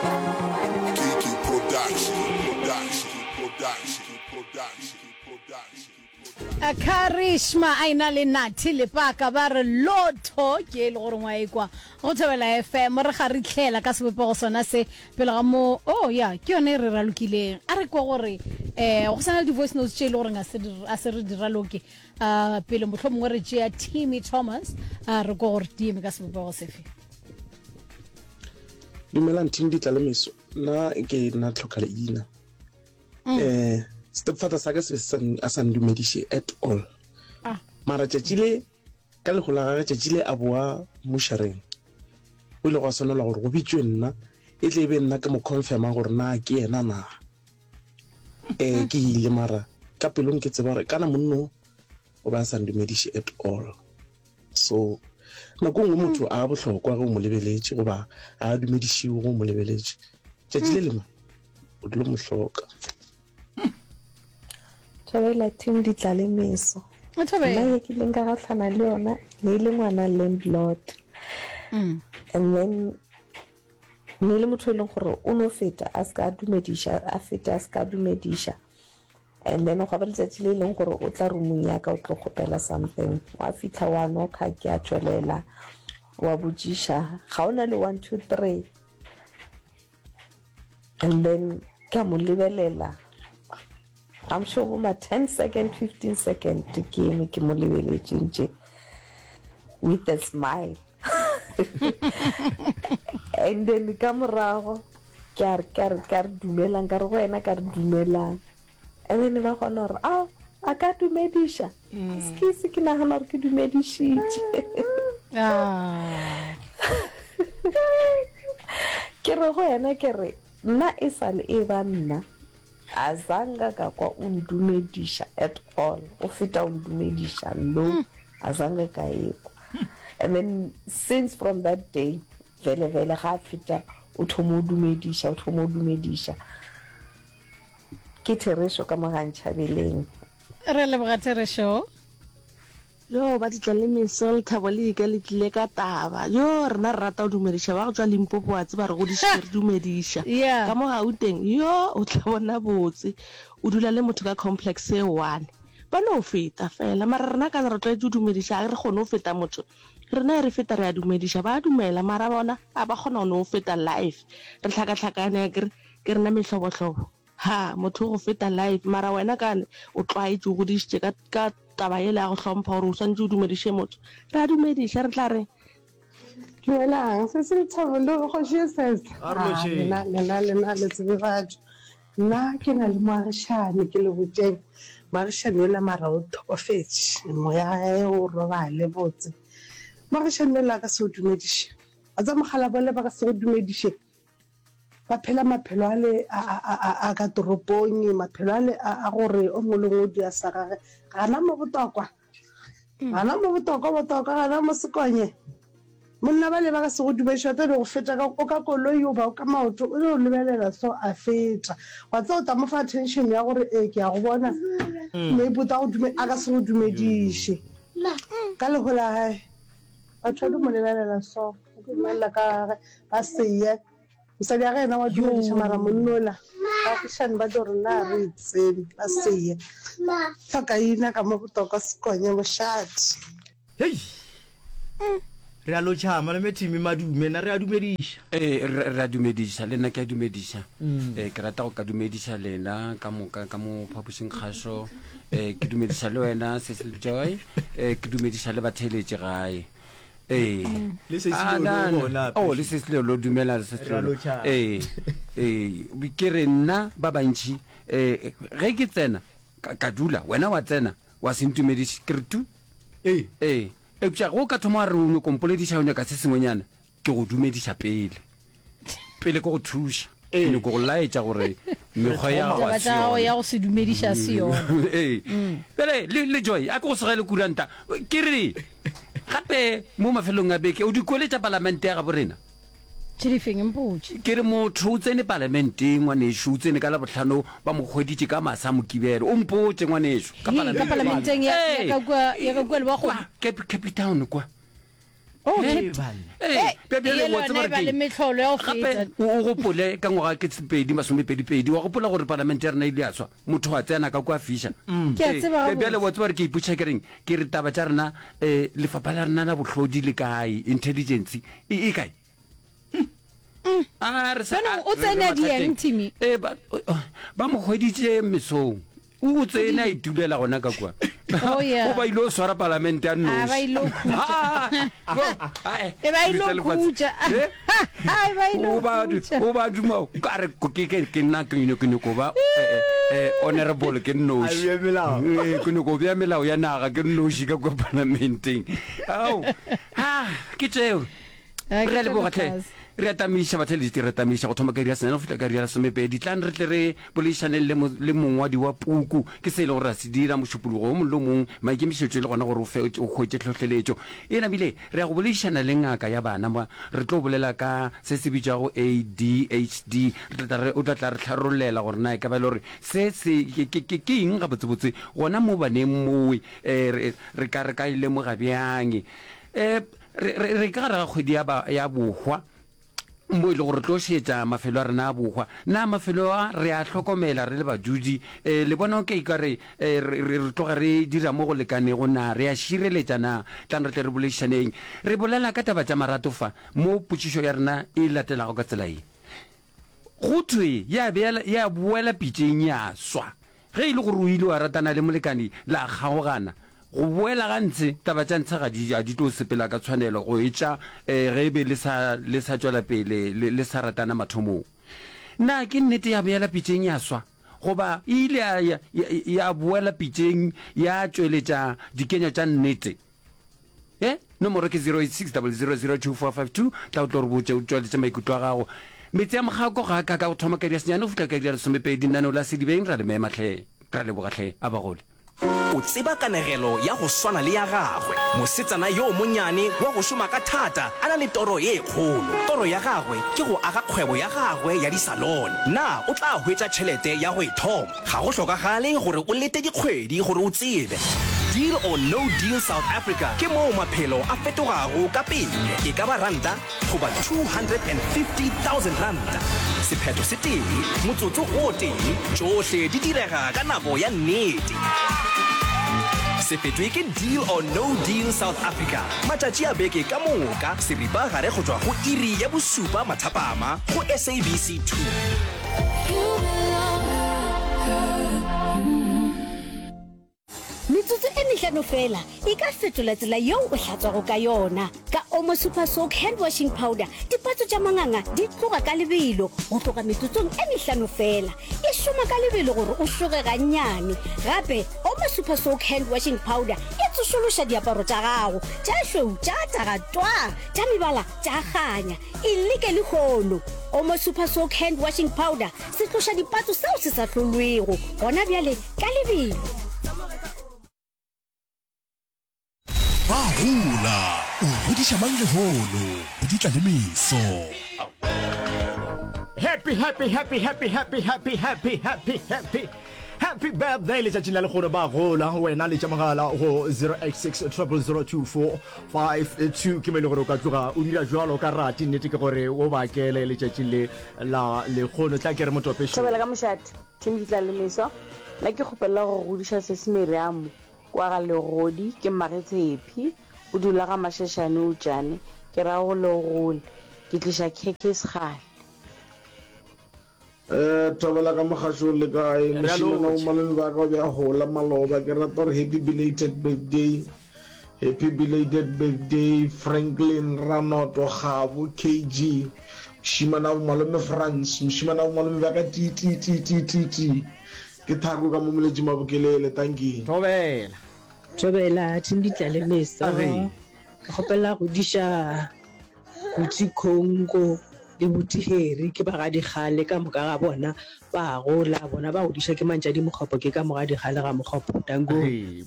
Kiki Production, Production, Production, Production, Production. Karishma a ena le Nathi Lepaka ba re lotho ke e le gore ngwa ekwa go Thobela FM re ga re tlhela ka sebopego sona se pele ga mo oh ya ke yone e re ralokileng a re kwa gore eh go sana le di-voice notes tše e le goreng a se re di raloke uh, pele motlho mongwe re tšea Timmy Thomas a re kwa gore di eme ka sebopego sefe Dumelang team Ditlalemeso nna ke nna tlhoka leina mm. eh stepfather sa ka se be a sa ndumediše at all ah. mara tšatši le ka lego la gage tšatši le a boa mmushareng o ile gwa swanelwa gore go bitšwe nna e tle e be nna ke mo confirma gore na ke yena na um ke ile mara ka pelong ke tseba gore kana monno o be a sa ndumediše at all so nako nngwe motho a bohlokwa ge o mo lebeletše goba a dumedišiwe ge o mo lebeletše tšatši le lengwe o dilo mo hloka. Thobela team Ditlalemeso. Nna ye ke ileng ka gahlana le yona ne e le ngwana landlord. Mm. And then ne le motho e leng gore o no feta a se ka dumediša a feta a se ka dumediša and then gwa ba letšatši le e leng gore o tla roomong ya ka o tlo kgopela something wa fitlha wa nokha ke a tšwelela wa botšiša ga o na le 1 2 3 And then ka mo lebelela, I'm sure bo ma 10 second, 15 second ke eme ke mo lebeletše ntše with a smile. And then ka morago ke a re ka re ka re dumelang ka re go yena ka re dumelang. And then ba kgona gore ao a ka dumediša. Excuse ke nagana gore ke dumedišitše. Ah. Ke re go yena ke re nna e sa le e ba nna a zanga ka kwa o ndumediša at all o feta o ndumediša no a zanga ka ekwa and then since from that day vele vele ga a feta o thoma o dumediša o thoma o dumediša Ke therešo ka mo ga Ntšhabeleng. Re leboga therešo. Yo ba ditla le meso lethabo le ika le tlile ka taba yo rena re rata go dumediša ba go tšwa Limpopo wa tseba re godišitšwe re dumediša Yeah. ka mo Gauteng yo o tla bona botse o dula le motho ka complex e one ba no feta fela mara rena ka re tlwaetše go dumediša ga re kgone go feta motho rena e re feta re a dumediša ba dumela mara bona a ba kgona go no feta life re hlakahlakane akere Ke rena mehlobohlobo. Ha, motho o go feta life, mara wena kane o tlwaetše, o godišitše ka, ka taba yela ya go hlompha gore o swanetše o dumediše motho. Re a dumediša, re tla reng? Dumelang, se se Lethabo le Kgoši e Sese. A re Ah, lotšheng. lena, lena, lena le tsebe batho. Nna ke na le moagišani, ke le botšeng. Moagišani yola mara o hlokofetše, moya wa gagwe o robale botse. Moagišani yola a ka se go dumediše. Wa tseba mokgalabje wale ba ka se go dumediše. Ba phela maphelo ale a, a, a, a, a ka toropong, maphelo ale a, a gore o mongwe le mongwe o dira sa gage. Gana mo botokwa, gana mo botokwa, botokwa, gana mo sekonye. Monna bale ba ka se go dumediše, ba tla no go feta ka, o ka koloi goba o ka maoto, o no lebelela so a feta. Wa tseba o tla mo fa attention ya gore ee ke a go bona, maybe o tla go dume, a ka se go dumediše. Ka leho la gae, batho ba di mo lebelela so. Ba tlo mmelela ka gage ba seye. Mosadi wa ge yena wa dumediša mara monnola baagišani ba tlo re na re e tsebe ba seye. Tlhokaina ka mo botokwa Sekonye mošate. Hei! Re a lotšha malome Timmy Madume, na re a dumediša. Ee, re, re a dumediša, le nna ke a dumediša. Ee, ke rata go ka dumediša lena ka moka ka mo phapošing kgašo. Ee, ke dumediša le wena Cecil Joy. Ee, ke dumediša le batheeletši gae. Ee. Le Sesi Ah, Lolo na, o na. gona, Oh, le Sesi Lolo, dumela le Sesi Re a Lolo. lotšha. Ee, ee, ke re nna ba bantši, eh, ge ke tsena, ka, ka dula, wena wa tsena, wa se ntumediše, ke re tu. Ee. Ee, eupša ge o ka thoma wa re o nyoko mpolediša, o nyaka se sengwenyana, ke go dumediša pele. Pele ke go thuša, ke nyoko go laetša gore mekgwa ya gago Taba a se tša gago yona. ya go se dumediša a se yona. Ee. Bjale le, le Joy, a ke go segele kuranta. Ke re, gape mo mafelong a beke, o di kwele tša palamente ya gabo rena? Tše di feng? Mpotše. Ke re motho o tsene palamenteng, ngwanešu, o tsene ka Labohlano, ba mo hweditše ka masa Mokibelo. O mpotše, ngwanešu, ka Hei, ka palamenteng. palamenteng ya, ya Ee. ka kua, ya ka kua Lebakgong? Kwa, Cape, Cape Town kwa. Oh, Hey, Cape- banna. Ee, Eh, bja- bjale ye wa tseba lona e gore ba le keng? mehlolo ya go gape feta. o o gopole ka ngwaga ke sepedi masomepedipedi wa gopola gore palamente ya rena ile ya swa motho a tsena ka kwa fiša Ke a Ee, tseba bja- bjale gabotse. wa tseba gore ke ipotšiša ke reng ke re taba tša rena um lefapha la rena la bohlodi le kae intelligence e e kae A re sa- Jaanong a- o re- re tsene a dieng, mathateng. Timmy? Ee, ba ba mo hweditše mesong o tsene a itulela gona ka kua Oh, yeah. o ba ile o swara palamente a Ah, ba ile o khutša. nnoši E ba ile o khutša. Eh? E ba ile o o ba khutša. o ba duma ka re ke ke ke nna ke nyoko nyoko ba eh, eh, eh, honorable ke nnoši A bea melao. Eh, ke nyoko bea melao ya naga ke nnoši ka kwa palamenteng ao ha ke tšeo Ah, ke Re a leboga tlhe. tša Re a tamiša batheeletši, re a tamiša go thoma ka iri ya senyane go fihla ka iri ya lesomepedi. Tlang re tle re boledišaneng le, le mongwadi wa puku. Ke se e lego gore ra se dira mošupologo wo mongwe le wo mongwe, maikemišetšo e le gona gore o fe, o hwetše tlhohleletšo. E namile re ya go boledišana le ngaka ya bana mo, re tlo bolela ka se se bitšwago ADHD. Re tla tla re, o tla tla re tlharollela gore na e ka ba e le gore se se ke, ke, ke, ke eng gabotsebotse gona mo baneng mowe, eh, re, re ka, re ka e lemoga bjang. Eh, Re, re, re ka gare ga kgwedi ya, ba, ya bohwa, mo e le gore re tlo šetša mafelo a rena a bohwa. Na mafelo a re a hlokomela re le badudi? E, le bona ke ka re, e, re, re, re tloga re dira mo go lekanego na? Re a šireletša na? Tlang re tle re boledišaneng. Re bolela ka taba tša marato fa, mo potšišo ya rena e latelago ka tsela ye. Go thwe ya be ya boela pitšeng ya swa. Ge e le gore o ile wa ratana le molekani la kgaogana, go boela ga ntshe, taba tša ntshe ga di, ga di tlo sepela ka tshwanelo go etša ge e be le sa, le sa tšwela pele le, le sa ratana mathomong. Na ke nnete ya boela pitšeng ya swa? Goba e ile ya, ya, ya boela pitšeng ya tšweletša dikenywa tša nnete? E, nomoro ke 0860002452, tla o tlo re botše o tšweletše maikutlo a gago. Metse ya Mokgako ga a ka ka go thoma ka iri ya senyane go fihla ka iri ya lesomepedi, lenaneo la Sedibeng ra le mema hle, ra leboga hle, a ba gole. O tseba kanegelo ya go swana le ya gagwe, mosetsana yo monyane wa go šoma ka thata a na le toro ye kgolo. Toro ya gagwe ke go aga kgwebo ya gagwe ya disalone. Na o tla hwetša tšhelete ya go e thoma? Ga go hlokagale gore o lete dikgwedi gore o tsebe. Deal or No Deal South Africa ke moo maphelo a fetogago ka pele, e ka ba ranta goba 250,000 ranta. Sephetho se tee, motsotso o tee, tšohle di direga ka nako ya nnete. Se fetwe ke Deal or No Deal South Africa matšatši a beke ka moka seripa gare go tšwa go iri ya bosupa mathapama go SABC 2. Metsotso e mehlano feela e ka fetola tsela yeo o hlatswago ka yona. Ka Omo Super Soak Hand Washing Powder, dipatso tša manganga di tloga ka lebelo go tloga metsotsong e mehlano feela. E šoma ka lebelo gore o šoge gannyane. Gape, Omo Super Soak Hand Washing Powder e tsošološa diaparo tša gago, tša šweu tša taga twaa, tša mebala tša kganya. E leke lehono! Omo Super Soak Hand Washing Powder, setloša dipatso seo se sa hlolwego gona bjale ka lebelo. Ba gola, o godiša mang lehono, di tla le meso. Happy happy happy happy happy happy happy happy happy happy birthday letšatšing la lekgono ba gola wena letša mogala go 086 0002452 ke mo e le gore o ka tloga o dira jwalo ka rate nnete ke gore o bakele letšatšing le la lekgono tla ke re motopešo Thobela ka mošate, Team Ditlalemeso, nna ke kgopelela go godiša Sesi Miriam kwa ga Legodi, ke mmage Tshepi, o dula ga Mashashane Utšane, ke ra go le gole, ke tliša khekhe sekgale. Eh, Thobela ka mogašong le kae? Re a Mošemane wa lotšha. malome ba ka o be a gola maloba. Ke rata gore happy belated birthday. Happy belated birthday Franklin Ranoto Gabo KG. Mošemane wa malome Frans, mošemane wa malome ba ka ti ti ti ti ti ti. Ke thako ka mo Moletši Mabokelele. Dankie. Thobela. Thobela, Team Ditlalemeso. Age. Ke kgopela go diša Buti Congo le Buti Harry ke ba ga Dikgale ka moka ga bona ba gola bona ba godiša ke Mantšadi Mokgopo ke ka mo ga Dikgale ga Mokgopo danko. Age.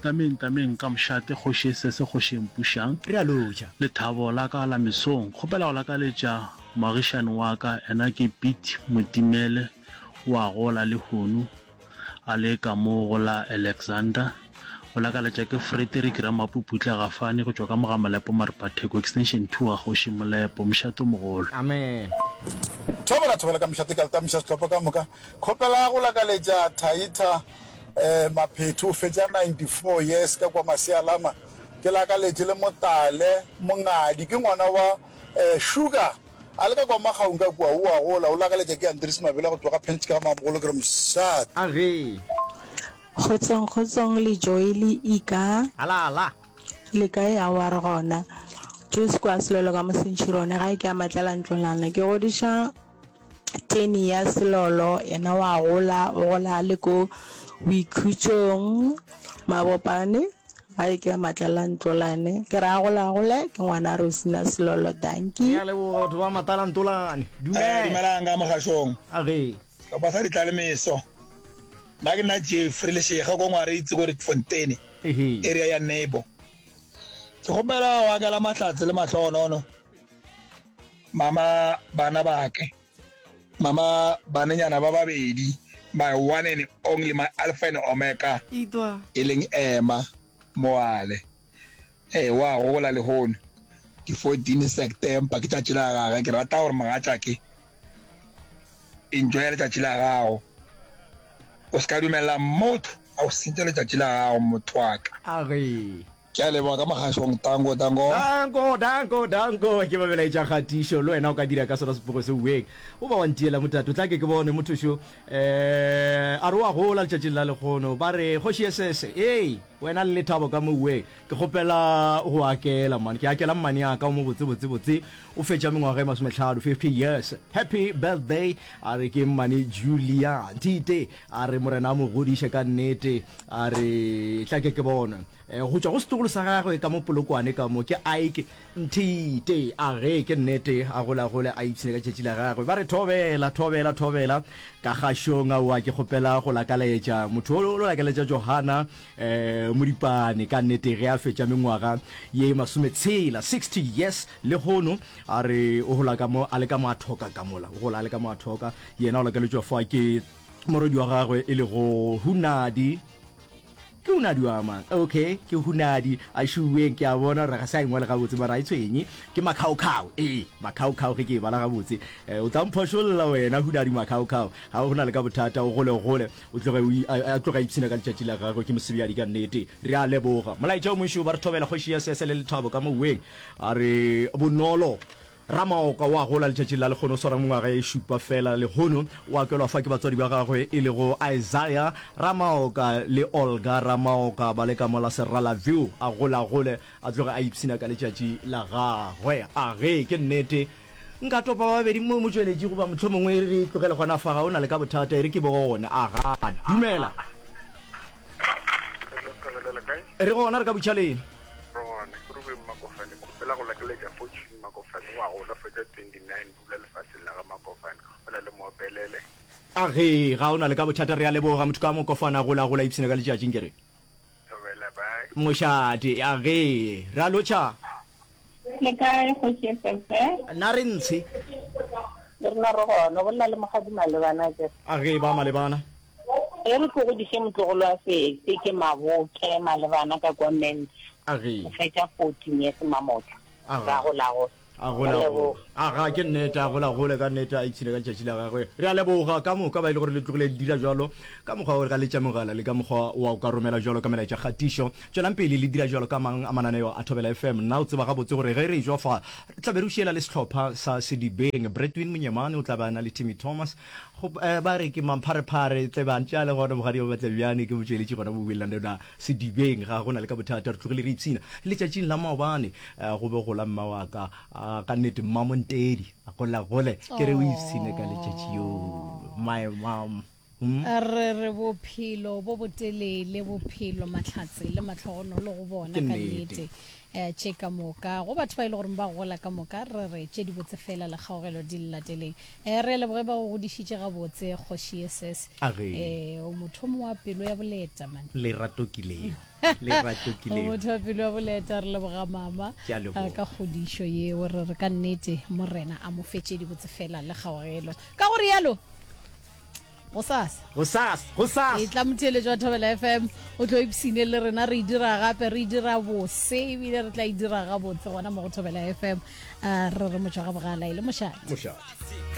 Tameng tameng ka mošate kgoši e sese kgoši e mpušang. Re a lotšha. Lethabo la ka la mesong. Kgopela go lakaletša moagišani wa ka ena ke Piet Motimele o a gola lehono a le ka mo go la Alexander. Go lakaletša ke Frederick Ramapuputla Gafane go tšwa ka mo ga Molepo Maripatheko Extension 2 ga Kgoši Molepo, Mošate o Mogolo. Amen. Thobela thobela ka mošate ka letamiša sehlopha ka moka. Kgopela go lakaletša Thaitha eh, Maphetho o fetša 94 years ka kwa Masialama. Ke lakaletše le Motale Mongadi ke ngwana wa eh, Sugar a le ka kwa Magaung ka kua o a gola o lakaletša ke Andries Mabela go tšwa ga Pentjke ga Mamogolo ke re mošate. A ge. Kgotsong kgotsong le Joy le Ika. Ala ala. Le kae aowa re gona. Joyce kwa Selolo ka Mosentšhirone gae ke a Matlala Ntlolana ke godiša Teni ya Selolo yena wa gola o gola a le ko boikhutšong Mabopane gae ke a Matlala Ntlolane ke re a gola gole ke ngwana Rosina Selolo dankie. Re a leboga batho ba Matlala Ntolane. Dumela. Dumelang ka mogašong. A ge. Sehlopha sa Ditlalemeso. Nna ke nna Jeffrey Lešega ko Ngwaritsi ko Rietfontein, area ya Nebo. Ke kgopela go akela mahlatse le mahlogonono mama bana bake, mama banenyana ba babedi, my one and only, my alpha and omega, e leng Emma Moale. Ee, wa gola lehono, ke 14 September, ke tšatši la gage. Ke rata gore mogatšake Enjoya letšatši la gago. O se ka dumelela motho a go sentša letšatši la gago, motho wa ka. A re. Ke a leboga ka mogašong. Danko, danko. Danko, danko, danko. Ke ba melaetša kgatišo. Le wena o ka dira ka sona sepogo se uweng. O ba wa ntiela motato. Tla ke ke bone motho šo. Eh, a re o a gola letšatšing la lekgono. Ba re, Kgoši Esese, ee, wena le lethabo ka mo uweng. Ke kgopela go akela man. Ke akela mmane ya ka o mo botse botse botse. O fetša mengwaga e masometlhano, 50 years. Happy birthday. A re ke mmane Julia Ntite. A re morena a mo godiše ka nnete. A re tla ke ke bone. Eh, go tšwa go setlogolo sa gagwe ka mo Polokwane ka mo ke Ike Nthite. A ge ke nnete a gola gole a ipshine ka tšatši la gagwe. Ba re thobela thobela thobela ka gašong aowa ke kgopela go lakaletša motho o lo lakaletša Johana Eh, Modipane, ka nnete ge a fetša mengwaga ye masometshela, 60 years, lehono, a re o gola ka mo, a le ka mo a thoka ka mola, o gola a le ka mo a thoka. Yena o lakaletšwa fa ke morwedi wa gagwe e lego Hunadi. Ke Hunadi wa mang? Okay, ke Hunadi. A šuweng, ke a bona gore ga se a engwale gabotse, mara a e tshwenye. Ke Makhaokhao, ee, Makhaokhao ge ke e bala gabotse. Eh, o tla mphošolla wena, Hunadi Makhaokhao. Ga go na le ka bothata, o gole gole. O tloge o a, a tloge a ipshina ka letšatši la gagwe, ke mosebjadi ka nnete. Re a leboga. Molaetša o mošo ba re thobela kgoši ya sese le lethabo ka moweng. A re bonolo. Ramaoka o a gola letšatšing la lekgono, o swara mengwaga e šupa fela lehono. O akelwa fa ke batswadi ba gagwe e lego Isaiah Ramaoka le Olga Ramaoka ba le ka mola Serala View. A gola gole, a tloge a ipshina ka letšatši la gagwe. A ge ke nnete. Nka topa ba babedi mo motšweletši goba mohlomongwe re tlogele gona fa, ga o na le ka bothata, e re ke bone. A gana. Dumela. Re gona, re ka butšha leng? Re gona, ke Rubeng Makofane, kgopela go lakeletša Fortune Makofane wa gola fetša 29 dula lefaseng la ga Makofane, ke kgopela le mo opelele. A ge, ga o na le ka bothata, re a leboga, motho ka Mokofane a gola, gola ipshina ka letšatši, nke re. Thobela, bye. Mošate, a ge, re a lotšha. Le kae kgoši SFF? Na re ntshe. Le rena re gona, o bolela le Mokgadi Malebana akere? A ge, ba Malebana. Ge re tlo godiše motlogolo wa Sese ke Maboke Malebana ka kwa Ments. A ge. O fetša 14 years Mamotla. A ga. Ra gola gola. A gola gola. A ga, ke nnete, a gola gole ka nnete, a ipshine ka letšatši la gagwe. Re a leboga ka moka ba e le gore le tlogile le dira jwalo ka mokgwa wa go letša mogala le ka mokgwa wa go ka romela jwalo ka melaetša kgatišo. Tšwelang pele le dira jwalo ka mang a mananeo a Thobela FM. Nna o tseba gabotse gore ge re ejwa fa re tla be re o šiela le sehlopha sa Sedibeng. Bretwin Monyemane o tla be a na le Timmy Thomas. Go, eh, ba re ke mampharephare tle ba ntše a le gona Mogadi wa Matlebjane ke motšweletši gona mo Willandona Sedibeng. Ga go na le ka bothata, re tlogile re ipshina. Letšatšing la maobane eh, go be gola mma wa ka, ah, ka nnete Mmamontedi, a gola gole, ke re o ipshine ka letšatši yo. My mom. Hmm? Re re bophelo bo botelele, bophelo, mahlatse le mahlogonolo go bona Ke ka nnete. nnete. Eh, tše ka moka go batho ba e le gore ba gola ka moka re re tše dibotse fela le kgaogelo di le lateleng. Eh, re a leboge ba go godišitše gabotse kgoši SS. A ge. Eh, o mothomo wa pelo ya boleta man. Lerato ke leo. Lerato ke O leo. motho wa pelo ya boleta re leboga mama Ke a eh, leboga. ka kgodišo yeo re re ka nnete morena a mo fe tše dibotse fela le kgaogelo. Ka go rialo. Gosasa. Gosasa, gosasa. E tla motheeletši wa Thobela FM, o tlo ipshine le rena re e dira gape, re e dira bose ebile re tla e dira gabotse gona mo go Thobela FM. Uh, re re motšwa ga bogala e le mošate. Mošate.